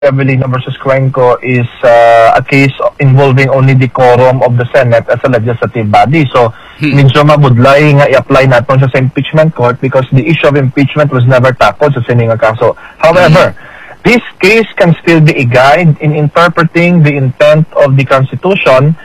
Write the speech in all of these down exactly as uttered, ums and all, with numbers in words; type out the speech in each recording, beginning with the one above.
Revellino versus Cuenco is uh, a case involving only the quorum of the Senate as a legislative body. So, Hmm. medyo mabudlay nga i-apply naton siya sa impeachment court because the issue of impeachment was never tackled sa sini nga kaso. However, this case can still be a guide in interpreting the intent of the Constitution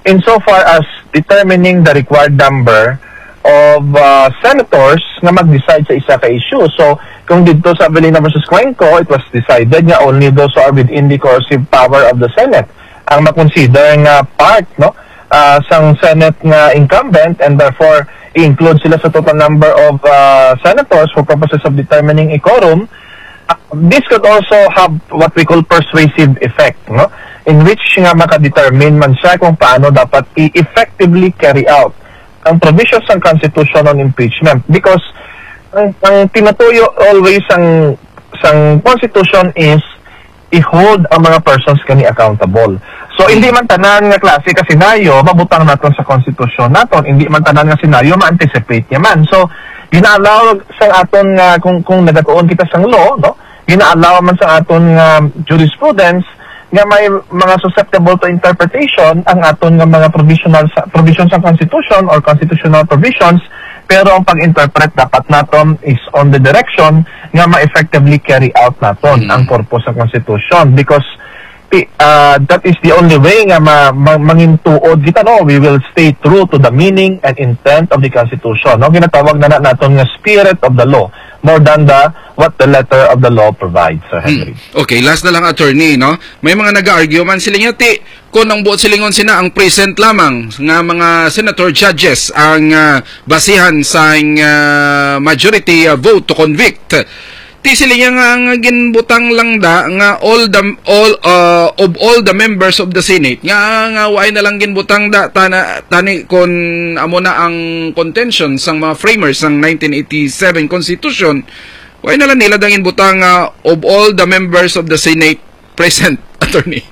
insofar as determining the required number of uh, senators nga mag-decide sa isa ka issue. So, kung dito sa Revellino versus Cuenco, it was decided nga only those who are within the coercive power of the Senate ang makonsider nga part, no, ah, sang Senate nga incumbent, and therefore i-include sila sa total number of ah, senators for purposes of determining a quorum. Ah, this could also have what we call persuasive effect, no, in which nga makadetermine man siya kung paano dapat i-effectively carry out ang provisions ng Constitution on impeachment, because ang, ang tinutuyo always sang sang Constitution is i-hold ang mga persons kani accountable. So, hindi man tanan nga klase ka senaryo mabutang naton sa Constitution naton, hindi man tanan nga senaryo ma-anticipate niya man. So, gina-allow sa aton nga kung kung nagatuon kita sang law, no? Gina-allow man sa aton nga jurisprudence nga may mga susceptible to interpretation ang aton nga mga provisional sa provisions sa Constitution or constitutional provisions, pero ang pag-interpret dapat naton is on the direction nga ma-effectively carry out naton Mm. ang purpose sa Constitution, because ti- ah, that is the only way nga ma, ma, mangin tuod kita, no? We will stay true to the meaning and intent of the Constitution, no? Ginatawag na, na naton nga spirit of the law more than the what the letter of the law provides, Sir Henry. Hmm. Okay, last na lang, attorney, no? May mga nag-argue man sila nga, ti, kung ang buot silingon sina ang present lamang nga mga senator judges ang ah, basihan sa ah, majority ah, vote to convict. Ti sila nga, nga ginbutang lang da nga all the all ah, of all the members of the Senate nga nga why na lang ginbutang da tana, tani kon amo na ang contention sang mga framers sang nineteen eighty-seven Constitution. Why na lang nila da ginbutang nga of all the members of the Senate present, attorney?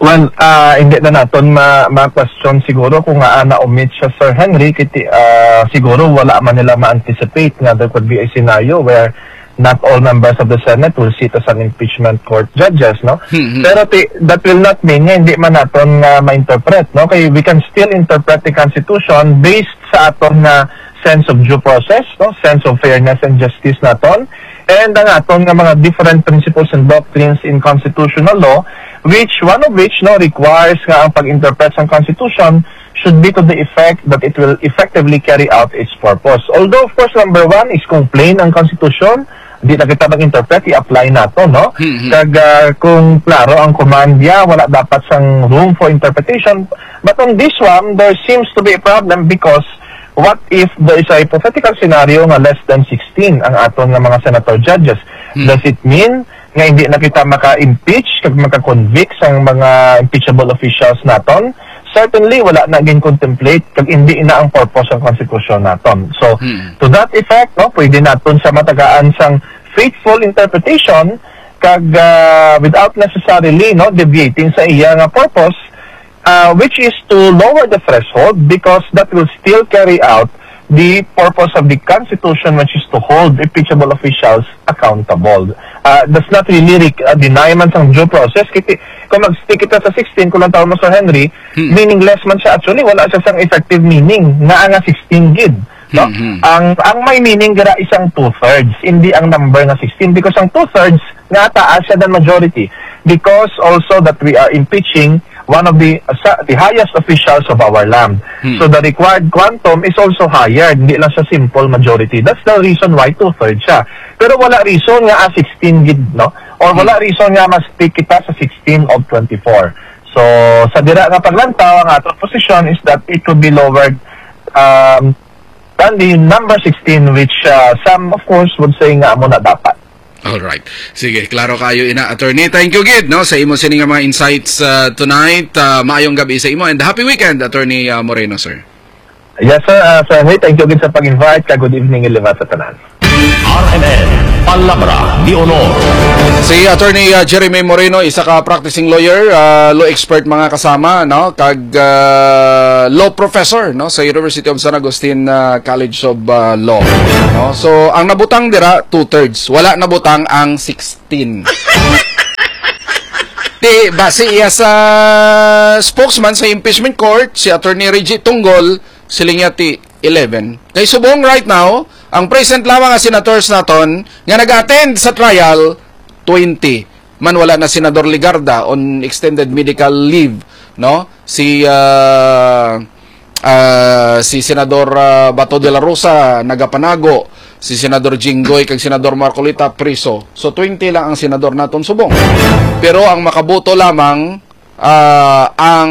Well, ah, hindi na naton ma- ma-question siguro kung nga na-omit siya, Sir Henry. Kiti, ah, siguro wala man nila ma-anticipate nga there could be a scenario where not all members of the Senate will sit as an impeachment court judges, no? Hmm, hmm. Pero ti- that will not mean nga hindi man naton nga ma-interpret, no? Kay we can still interpret the Constitution based sa aton nga sense of due process, no? Sense of fairness and justice naton, and ang aton nga mga different principles and doctrines in constitutional law, which one of which, no, requires nga ang pag-interpret sang Constitution should be to the effect that it will effectively carry out its purpose. Although, of course, number one is kung plain ang Constitution, di na kita mag-interpret, i-apply nato, no? Mhm. Kag ah, kung klaro ang command niya, wala dapat sang room for interpretation. But on this one, there seems to be a problem because what if there is a hypothetical scenario nga less than sixteen ang aton nga mga senator judges? Hmm. Does it mean nga hindi na kita maka-impeach kag maka-convict sang mga impeachable officials naton? Certainly, wala na gin-contemplate kag hindi na ang purpose sang konstitusyon naton. So, Hmm. to that effect, no, pwede naton siya matagaan sang faithful interpretation kag ah, without necessarily, no, deviating sa iya nga purpose, ah, which is to lower the threshold because that will still carry out the purpose of the Constitution, which is to hold impeachable officials accountable. Ah, does not really rec- ah, deny man sang due process. Kiti, kung mag-stick kita sa sixteen, kung lang tawag mo, Sir Henry, Hmm. meaningless man siya. Actually, wala siya sang effective meaning nga nga sixteen gid. No? Hmm, hmm. Ang ang may meaning dira isang two-thirds, hindi ang number nga sixteen, because ang two-thirds nga taas siya than majority, because also that we are impeaching one of the sa, the highest officials of our land. Hmm. So the required quantum is also higher, hindi lang sa simple majority. That's the reason why two-thirds siya. Pero wala reason nga ah, sixteen gid, no? Or wala reason nga ma-stick kita sa sixteen of twenty-four. So, sa dira nga paglantaw, ang aton position is that it would be lowered um, than the number sixteen, which uh, some, of course, would say nga amo na dapat. Alright. Sige, klaro kayo ina, attorney. Thank you gid, no, sa imo sini nga mga insights uh, tonight. Uh, maayong gabi sa imo and happy weekend, Attorney uh, Moreno, sir. Yes, sir. Uh, sir, hey, thank you again sa pag-invite. Ka good evening, Ilibat sa tanan. R M N, Palabra de Honor. Si Attorney uh, Jeremy Moreno, isa ka practicing lawyer, uh, law expert, mga kasama, no, kag uh, law professor, no, sa University of San Agustin uh, College of uh, Law, no. So ang nabutang dira two-thirds, wala nabutang ang sixteen. Ti, base iya sa spokesman sa impeachment court, si Attorney Reggie Tunggol, siling niya ti eleven. Kay subong right now, ang present lamang nga senators naton nga nag-attend sa trial, twenty. Man, wala na Senador Legarda on extended medical leave, no? Si, ah, ah, si Senador, ah, Bato de la Rosa nagapanago, si Senador Jinggoy kag Senador Marcoleta priso. So, twenty lang ang senador naton subong. Pero ang makaboto lamang, ah, ang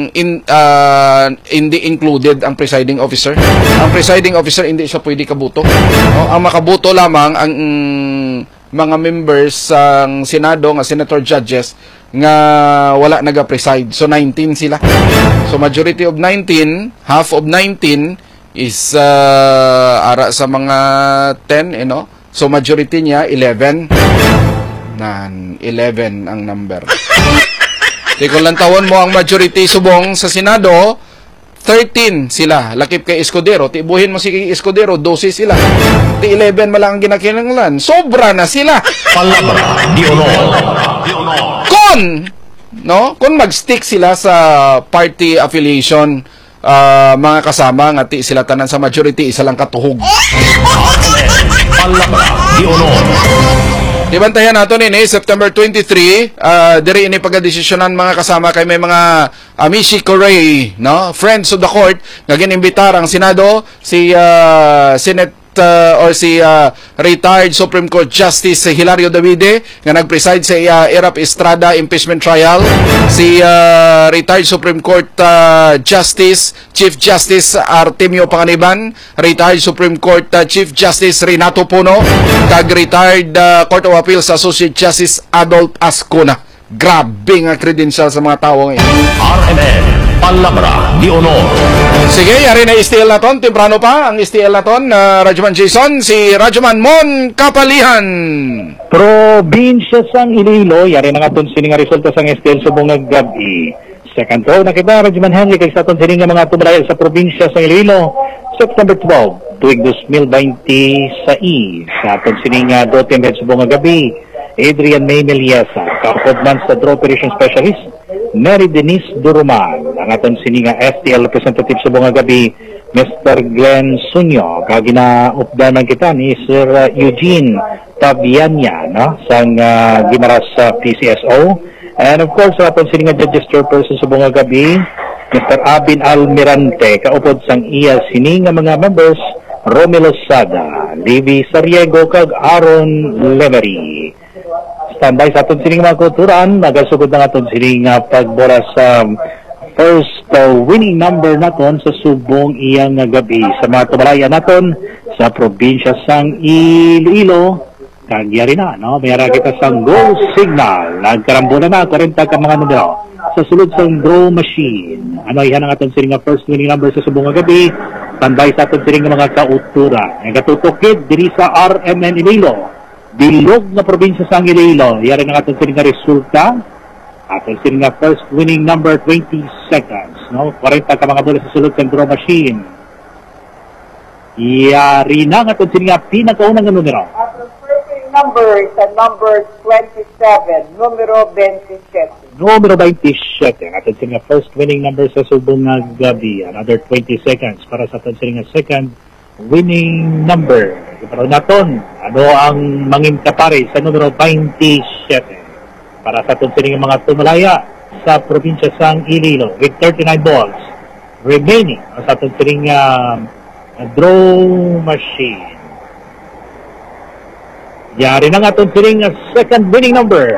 in-, ah, hindi included ang presiding officer. Ang presiding officer, hindi siya pwede kaboto. No? Ang makaboto lamang ang, mm, mga members sang Senado nga senator judges nga wala naga-preside. So, nineteen sila. So, majority of nineteen, half of nineteen is, ah, ara sa mga ten, you know? So, majority niya, eleven. Nan, eleven ang number. Di kung lantawon mo ang majority subong sa Senado, thirteen sila. Lakip kay Escudero. Tibuhin mo si Escudero, dose sila. Ti eleven man lang ang ginakinahanglan. Sobra na sila. Palabra de honor. Kon, no? Kon mag-stick sila sa party affiliation, ah, mga kasama, nga ti sila tanan sa majority, isa lang katuhog. Palabra de honor. Di bantayan nato nini, September twenty-three, ah, diri ini pagadesisyonan, mga kasama, kay may mga Amici Curiae, no? Friends of the court, nga ginimbitar ang Senado, si, ah, Senate, ah, or si, ah, retired Supreme Court Justice Hilario Davide, nga nag-preside sa, ah, Erap Estrada impeachment trial, si, ah, retired Supreme Court, ah, Justice, Chief Justice Artemio Panganiban, retired Supreme Court, ah, Chief Justice Renato Puno, kag retired, ah, Court of Appeals Associate Justice Adolf Ascona. Grabe nga credential sa mga tawo nga ini. R M N, Palabra de Honor. Sige, yari na S T L naton. Temprano pa ang S T L naton, ah, Radyoman Jason, si Radyoman Mon Kapalihan. Probinsya sang Iloilo, yari na nga aton sini nga resulta sang S T L subong nga gab-i. Second row na kita, Radyoman Henry, kag sa aton sini nga mga tumalayo sa probinsya sang Iloilo, September twelve, tuig dos mil baynte sais, sa aton sini nga Dote Med subong nga gab-i, Adrian May Meliesa, kaupod man sa Draw Operation Specialist, Mary Denise Duruman, ang aton sini nga S T L representative subong nga gab-i, Mister Glenn Sunyo, kag ginaupdan man kita ni Sir, uh, Eugene Tabianya, no, sang, uh, Guimaras, uh, P C S O. And of course, sa aton sini nga judges chairperson subong nga gab-i, Mister Abin Almirante, kaupod sang iya sini nga mga members, Romelo Sada, Livy Sariego, kag Aaron Lemery. Standby sa aton sining mga kulturan, nagasugod na aton sining, ah, pagbola sa first, ah, winning number naton sa subong iya nga gab-i. Sa mga tumalaya naton sa probinsya sang Iloilo, kag yari na, no? May ara kita sang goal signal. Nagkarambola na, kwarenta ka mga numero. Sa sulod sang draw machine, ano, iya na nga aton sining nga first winning number sa subong nga gab-i. Standby sa aton sining nga mga kauturan. Nagatutok gid diri sa R M N Iloilo. Bilog nga probinsya sang Iloilo. Yari na nga aton sini nga resulta. Aton sini nga first winning number, twenty seconds, no? Kwarenta ka mga bola sa sulod sang draw machine. Yari na nga aton sini nga pinakauna nga numero. Aton first winning number sa number twenty-seven, numero twenty-seven. Numero twenty-seven, aton sini nga first winning number sa subong nga gab-i. Another twenty seconds para sa aton sini nga second winning number. Pero naton, ano ang mangin kapari sa numero twenty-seven? Para sa aton sining mga tumalaya sa probinsya sang Iloilo with thirty-nine balls remaining sa aton sining, ah, draw machine. Yari na nga aton sining, ah, second winning number.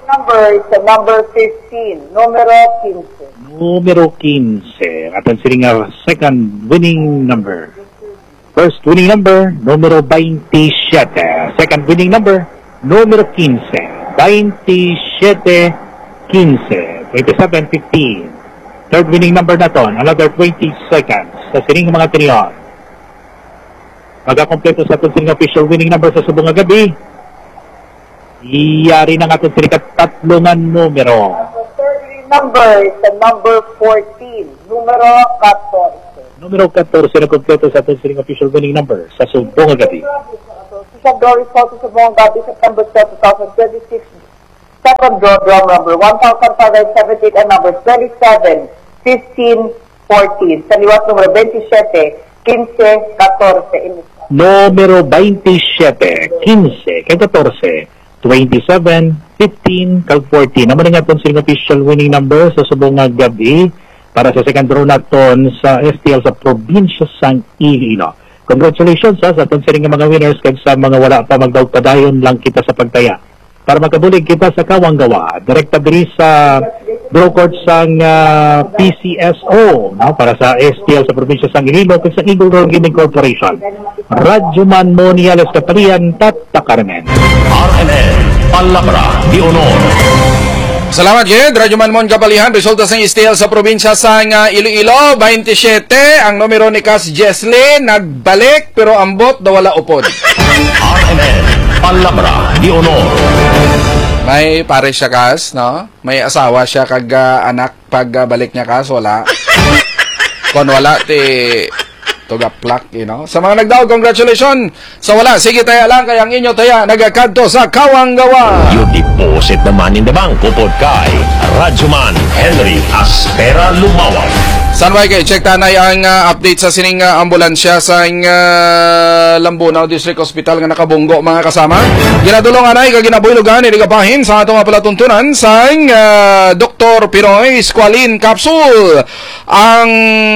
Number is the number fifteen, numero quince. Numero quince. Aton sining, ah, second winning number. First winning number, numero twenty-seven. Second winning number, numero quince. Twenty-seven quince. Twenty-seven fifteen. Third winning number naton, another twenty seconds. Sa sining mga tinion. Magakompleto sa aton sining official winning number sa subong nga gab-i. Yari na nga aton sini katatlo nga numero. Third number is the number fourteen, numero katorse. Numero katorse na kompleto sa aton sining official winning number sa subong nga gab-i. Sa Doris Hotel sa subong nga gab-i, September twelve, two thousand twenty-six. Second draw, drum number one thousand five hundred seventy-eight and number twenty-seven, fifteen, fourteen. Sa liwat, numero twenty-seven, quince, catorce. Numero twenty-seven, quince, kag catorce, twenty-seven, fifteen, kag fourteen. Amo na nga aton sining official winning number sa subong nga gab-i para sa second draw naton sa S T L sa probinsya sang Iloilo. Congratulations, ha, sa aton sining nga mga winners, kag sa mga wala pa, magdaog padayon lang kita sa pagtaya para makabulig kita sa Kawanggawa. Direkta diri sa draw court sang, ah, P C S O, no, para sa S T L sa probinsya sang Iloilo kag sa Eagle Roll Gaming Corporation. Radyo Man Moniales Kapalian, Tata Carmen. R M N, Palabra de Honor. Salamat gid, Radyo Man Mon Kapalian. Resulta sang S T L sa probinsya sang, ah, Iloilo, twenty-seven. Ang numero ni Kas Jesly nagbalik, pero ambot daw wala upod. R M N, Palabra de Honor. May pare siya, Kas, no? May asawa siya kag, ah, anak pag, ah, balik niya, Kas, wala. Kon wala, ti tugaplak, you know. Sa mga nagdaog, congratulations. Sa wala, sige taya lang, kay ang inyo taya nagakadto sa Kawanggawa. You deposit the money in the bank, upod kay Radyoman Henry Aspera Lumawag. Sanway kay check tanay ang, ah, update sa sining, ah, ambulansya sa, ah, Lambunao District Hospital nga nakabunggo, mga kasama. Ginadulong anay kag ginabuylogan ni Ligabahin sa atong palatuntunan sa, ah, Doktor Pinoy Squalene Capsule. Ang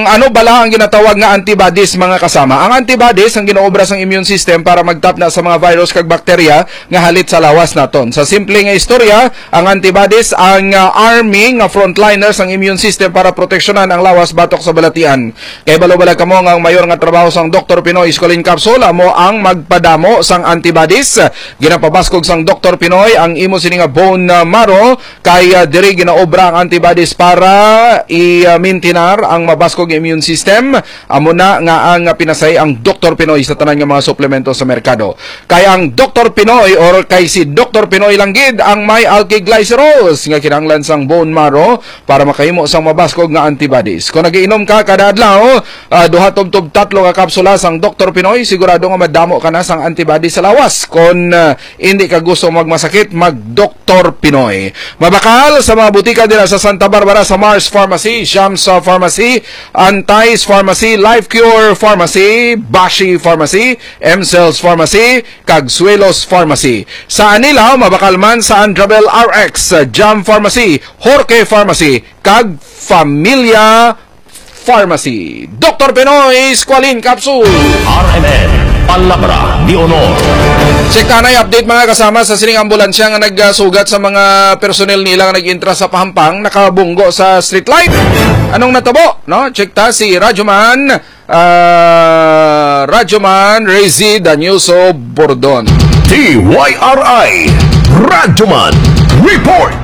ano bala ang ginatawag nga antibodies, mga kasama? Ang antibodies ang ginaobra sang immune system para magtapna sa mga virus kag bakterya nga halit sa lawas naton. Sa simple nga istorya, ang antibodies ang, ah, army nga frontliner sang immune system para proteksyonan ang lawas batok sa balatian. Kay balo bala kamo nga ang mayor nga trabaho sang Doktor Pinoy Squalene Capsule amo ang magpadamo sang antibodies. Ginapabaskog sang Doktor Pinoy ang imo sini nga bone, ah, marrow. Kay, ah, diri ginaobra ang antibodies para i-, ah, mintinar ang mabaskog nga immune system. Amo na nga ang, ah, pinasay ang Doktor Pinoy sa tanan nga mga suplemento sa merkado. Kay ang Doktor Pinoy or kay si Doktor Pinoy lang gid ang may alkylglycerols nga kinahanglan sang bone marrow para makahimo sang mabaskog nga antibodies. Kung nagiinom ka kada adlaw, ah, duha tubtob tatlo ka kapsula sang Doktor Pinoy, sigurado nga madamo ka na sang antibodies sa lawas. Kung, ah, hindi ka gusto magmasakit, mag Doktor Pinoy. Mabakal sa mga butika dira sa Santa Barbara, sa Mars Pharmacy, Shams, uh, Pharmacy, Antais Pharmacy, Life Cure Pharmacy, Bashi Pharmacy, M Cells Pharmacy, kag Suelos Pharmacy. Sa Anilao, mabakal man sa Andrabel R X, Jam Pharmacy, Jorge Pharmacy, kag Familia Pharmacy. Doktor Pinoy Squalene Capsule. R M N, Palabra de Honor. Check tanay update, mga kasama, sa sining ambulansya nga nagsugat sa mga personnel nila nga nag-intra sa Pahampang, nakabunggo sa street light. Anong natabo, no? Check ta si Radyoman, ah, Radyoman Rezi Danielso Bordon. D Y R I Radyoman Report.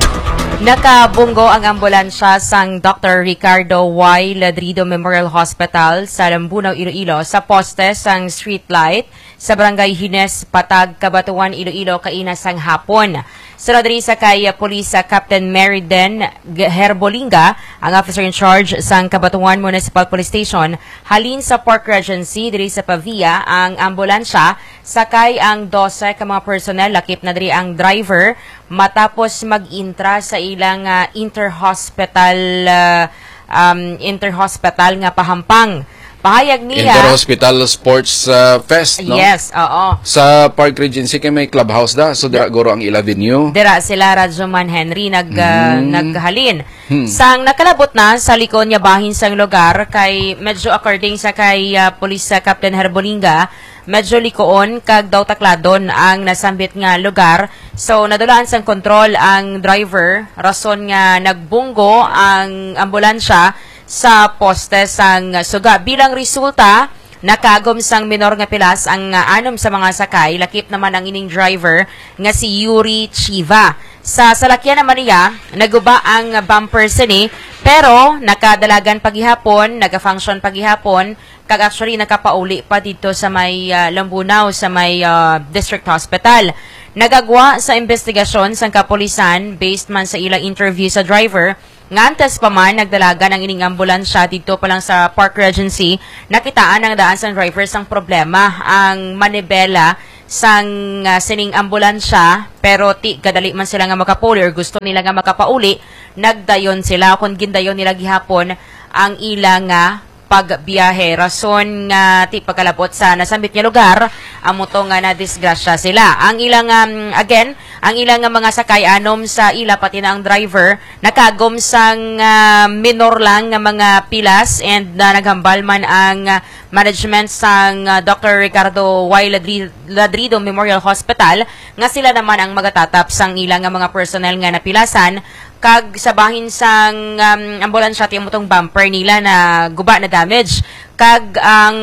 Nakabunggo ang ambulansya sang Doktor Ricardo Y Ladrido Memorial Hospital sa Lambunao, Iloilo, sa poste sang street light sa Barangay Hines, Patag, Cabatuan, Iloilo, kaina sang hapon. Sunod diri sa kay Police, ah, Captain Meriden G-, Herbolinga, ang officer in charge sang Cabatuan Municipal Police Station, halin sa Park Regency diri sa Pavia ang ambulansya, sakay ang dose ka mga personnel, lakip na diri ang driver, matapos mag-intra sa ilang, ah, interhospital, ah, um, interhospital nga pahampang. Pahayag nila, Inter-Hospital Sports, ah, Fest, no? Yes, oo. Sa Park Regency kay may clubhouse da, so dira guro ang ila venue. Dira sila, Radyoman Henry, nag, ah, Mm. naghalin. Hmm. Sang nakalabot na sa likod nga bahin sang lugar, kay medyo, according sa kay, ah, Police, ah, Captain Herbolinga, medyo likoon kag daw takladon ang nasambit nga lugar. So, nadulaan sang kontrol ang driver, rason nga nagbunggo ang ambulansya sa poste sang suga. Bilang resulta, nakaagom sang minor nga pilas ang, ah, anom sa mga sakay, lakip naman ang ining driver nga si Yuri Chiva. Sa salakyan naman niya, naguba ang bumper sini, pero nakadalagan pa gihapon, nagafunction pa gihapon, kag actually nakapauli pa didto sa may, ah, Lambunao, sa may, ah, District Hospital. Nagagwa sa investigasyon sang kapulisan, based man sa ilang interview sa driver, nga antes pa man nagdalagan ang ining ambulansya didto pa lang sa Park Regency, nakitaan ang daan sang driver sang problema ang manibela sang, ah, sining ambulansya, pero ti kadali man sila nga makapauli or gusto nila nga makapauli, nagdayon sila, kung gindayon nila gihapon ang ila nga pagbiyahe. Rason nga ti pagkalabot sa nasambit nga lugar, amo to nga nadisgrasya sila. Ang ilang, um, again, ang ilang nga mga sakay anom sa ila, pati na ang driver, nakagom sang, ah, minor lang nga mga pilas, and, ah, naghambal man ang, ah, management sang, ah, Doctor Ricardo Y Ladri-, Ladrido Memorial Hospital nga sila naman ang magatatap sang ila nga mga personnel nga napilasan, kag sa bahin sang, um, ambulansya, ti amo tong bumper nila na guba na damage, kag ang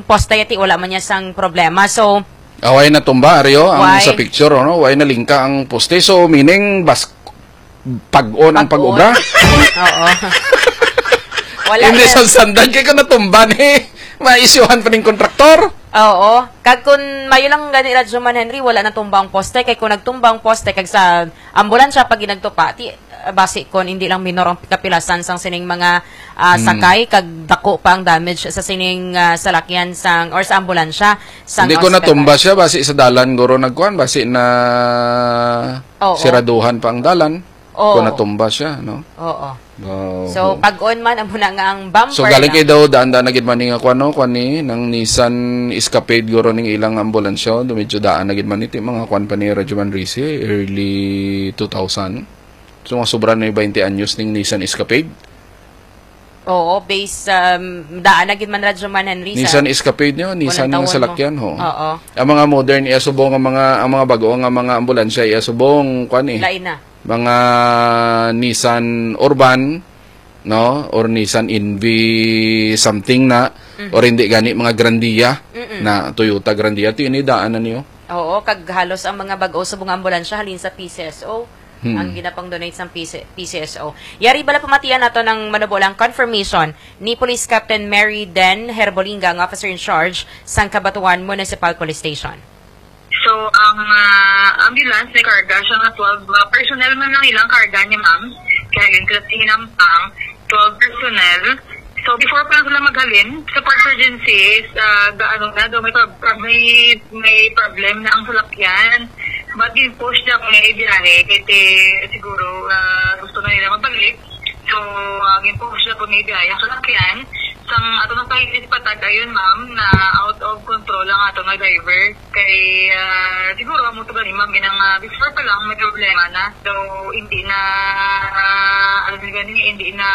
poste ti wala man niya sang problema. So, Away na tumba, Ario, ang Why? sa picture, ano? Way na lingka ang poste. So, meaning, bas, pag-on ang Pag-on. pag-obra. Oo. Wala Hindi yan. sa standard, kay kung natumba ni, maisyuhan pa ning kontraktor. Oo. Kag kun mayo lang gani, Radyo Man Henry, wala natumba ang poste. Kay kung nagtumba ang poste, kag sa ambulansya pag ginagtupa, ti, basi kon hindi lang minor ang kapilasan sang sining mga, ah, Hmm. sakay, kag dako pa ang damage sa sining, ah, salakyan sang, or sa ambulansya sang Hindi ko ospital. natumba siya, basi sa dalan, guro, nagkuhan, basi na Oo. siraduhan pa ang dalan. Oo. Kung natumba siya, no? Oo. Oo. So, pag-on man, amo na nga ang bumper So, galing na. kay daw, daan-daan na gid man ni nga kuwan, no? Kuwan ni, nang Nissan Escapade, guro, ning ilang ambulansya, do medyo daan na gid man ni, ti mga kuwan pa ni Radyo Man Risi, early two thousand. So, mga sobra na yung twenty anyos ning Nissan Escapade. Oo, base, um, daan na gid man, Radyo Man Henry, sa Nissan Escapade nyo, Nissan unang nga taon mo. salakyan, ho. Oo. Ang mga modern, iya subong ang mga, ang mga bago nga mga ambulansya, iya subong, kuwan eh. Lain na. Mga Nissan Urban, no? Or Nissan Envy something na, Mhm. or hindi gani, mga Grandia Mm-mm. na Toyota Grandia. Ito yun, daan na niyo. Oo, kag halos ang mga bag-o subong nga ambulansya halin sa P C S O Hmm. ang ginapang-donate sang P C, P C S O. Yari bala pamatian nato ng manubo lang confirmation ni Police Captain Mary Den Herbolinga, ang officer in charge sang Cabatuan Municipal Police Station. So, ang, ah, ambulance may karga siya nga twelve, ah, personnel man lang ilang karga niya, ma'am. Kaya yun, sila sa Hinampang, twelve personnel. So, before pa lang sila maghalin, sa pag-urgency is, ah, ga-, ano na, daw may prob-, prob-, may, may problem na ang salakyan. But gin-push na kung may biyahe, kaya siguro, ah, gusto na nila magbalik. So, ah, gin-push na kung may biyahe ang salakyan. Sang ato na sa patag, ayun, ma'am, na out of control ang ato nga driver. Kay, ah, siguro, amo to gani, ma'am, inang, ah, before pa lang, may problema na. So, hindi na, ah, ano na gani, hindi na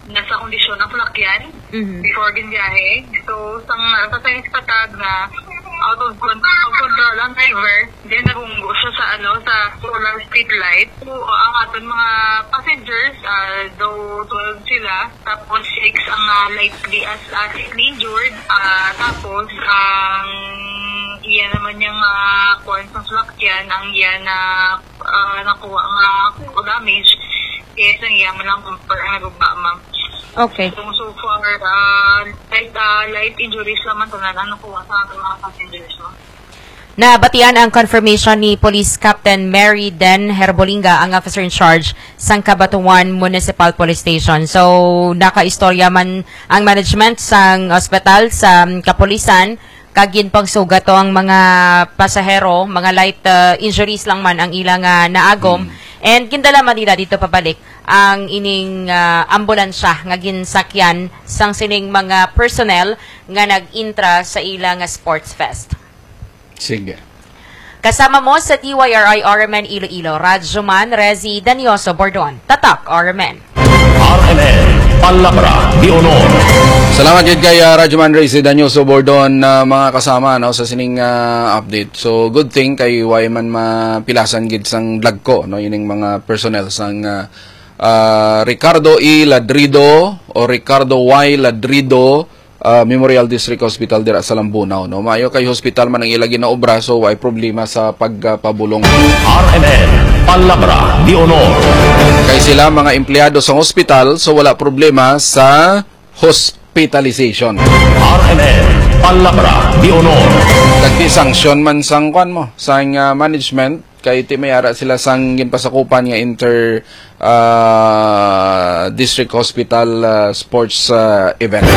nasa kondisyon ang salakyan Mhm. before ginbiyahe. So, sang, ah, sa science patag na out of con-, of control ang driver, then nabunggo siya sa, ano, sa solar street light. So, ang aton mga passengers, ah, though twelve sila, tapos six ang, ah, lightly as, ah, slightly injured. Ah, tapos, ang iya naman niyang, ah, kuwan sa salakyan, ang iya na, ah, nakuha nga damage, is ang iya man lang bumper ang nagugma, ma'am. Okay. So, so far, ah, light, ah, light injuries naman tanan ang nakuha sa ating mga passengers, ma'am. Nabatian ang confirmation ni Police Captain Mary Den Herbolinga, ang officer in charge sang Cabatuan Municipal Police Station. So, nakaistorya man ang management sang ospital sa kapulisan, kag ginpangsugat to ang mga pasahero, mga light, uh, injuries lang man ang ila nga naagom. Mm. And gindala man nila dito pabalik ang ining, uh, ambulansya nga ginsakyan sang sining mga personnel nga nag-intra sa ila nga sports fest. Sige. Kasama mo sa D Y R I R M N Iloilo, Radyo Man Rezi Danioso Bordon. Tatak R M N. R M N, Palabra de Honor. Salamat gid kay, ah, Radyo Man Rezi Danioso Bordon, ah, mga kasama, no, sa sining, ah, update. So, good thing kay way man mapilasan gid sang dagko, no, ining mga personnel sang, ah, ah, Ricardo E Ladrido o Ricardo Y Ladrido ah, Memorial District Hospital dira sa Lambunao, no? Maayo kay hospital man ang ila ginaobra, so way problema sa pagpabulong. R M N, Palabra de Honor. Kay sila mga empleyado sa hospital, so wala problema sa hospitalization. R M N, Palabra de Honor. Kag ti sanction man sang kwan mo, sang, ah, management, kay ti may ara sila sang ginpasakupan nga inter, ah, district hospital, ah, sports, ah, event.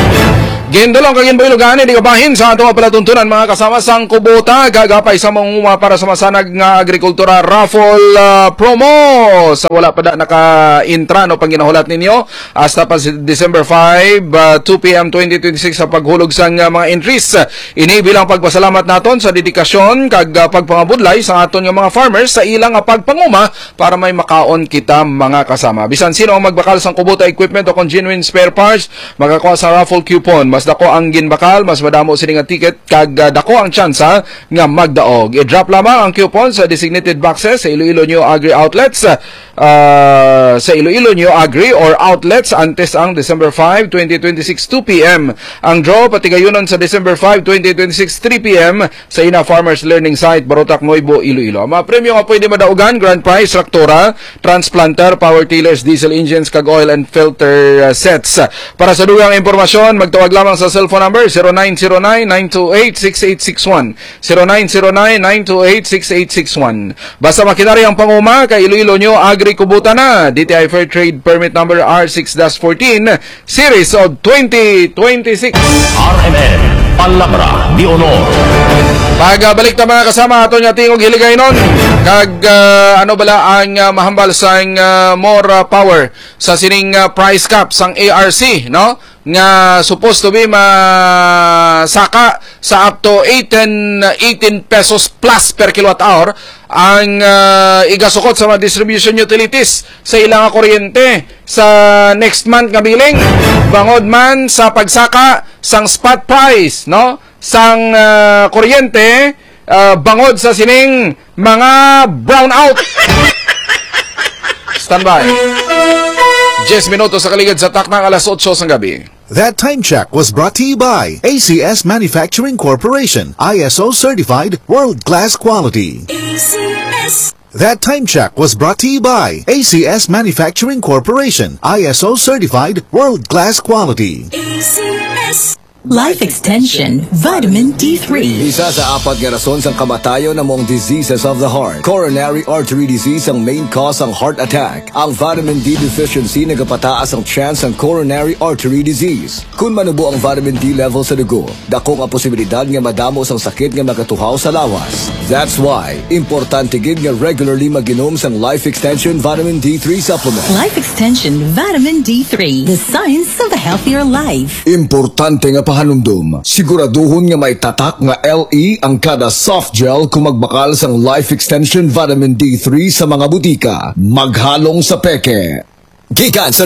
Gindulong kag ginbuylogan ni di kabahin sa ato nga palatuntunan, mga kasama, sang Kubota, gagapay sa mga para sa masanag nga agrikultura raffle, ah, promo. Sa wala pa da naka-intra, no, panginahulat ninyo, hasta pa si December five, ah, two p m twenty twenty-six sa paghulog sang, ah, mga entries. Ini bilang pagpasalamat naton sa dedikasyon kag, ah, pagpangabudlay sa aton nga mga farmers sa ilang nga pagpanguma para may makaon kita, mga kasama. Bisan sino ang magbakal sang Kubota equipment o kung genuine spare parts, makakuha sa raffle coupon. Mas dako ang ginbakal, mas madamo sini nga ticket, kag, ah, dako ang tsansa nga magdaog. I-drop lamang ang coupon sa designated boxes sa Iloilo Neo Agri Outlets, ah, sa Iloilo Neo Agri or outlets antes ang December five, twenty twenty-six, two p m. Ang draw patigayunon sa December five, twenty twenty-six, three p m sa Ina Farmers Learning Site, Barotac, Nuevo, Iloilo. Ang mga premyo nga pwede madaugan: grand prize, traktora, transplanter, power tillers, diesel engines, kag oil and filter, uh, sets. Para sa dugang impormasyon, magtawag lamang sa cellphone number zero nine zero nine, nine two eight, six eight six one. Zero nine zero nine, nine two eight, six eight six one. Basta makinari ang panguma, kay Iloilo Neo Agri Kubota na, D T I Fair Trade Permit Number R six dash fourteen, Series of twenty twenty-six. R M N, Palabra de Honor. Pagbalik ta, mga kasama, ato nga tingog hiligaynon. Kag, ah, ano bala ang, ah, mahambal sang, ah, more, ah, power sa sining, ah, price cap sang A R C, no? Nga supposed to be masaka sa up to eighteen, eighteen pesos plus per kilowatt hour ang, ah, igasukot sa mga distribution utilities sa ilang kuryente sa next month nga billing, bangod man sa pagsaka sang spot price, no, sang, ah, kuryente, ah, bangod sa sining mga brownout. Standby. Diyes minutos sa kaligid sa taknang alas otso sang gabi. That time check was brought to you by A C S Manufacturing Corporation, I S O certified, world class quality. A C S. That time check was brought to you by A C S Manufacturing Corporation, I S O certified, world class quality. A C S. Life Extension, Vitamin D three. Isa sa apat nga rason sang kamatayon amo ang diseases of the heart. Coronary artery disease ang main cause sang heart attack. Ang vitamin D deficiency nagapataas ang chance sang coronary artery disease. Kun manubo ang vitamin D level sa dugo, dako nga posibilidad nga madamo sang sakit nga makatuhaw sa lawas. That's why importante gid nga regularly mag-inom sang Life Extension Vitamin D three Supplement. Life Extension Vitamin D three, the science of a healthier life. Importante nga pahanumdom, siguraduhon nga may tatak nga L E ang kada soft gel kung magbakal sang Life Extension Vitamin D three sa mga butika. Maghalong sa peke. Gikan sa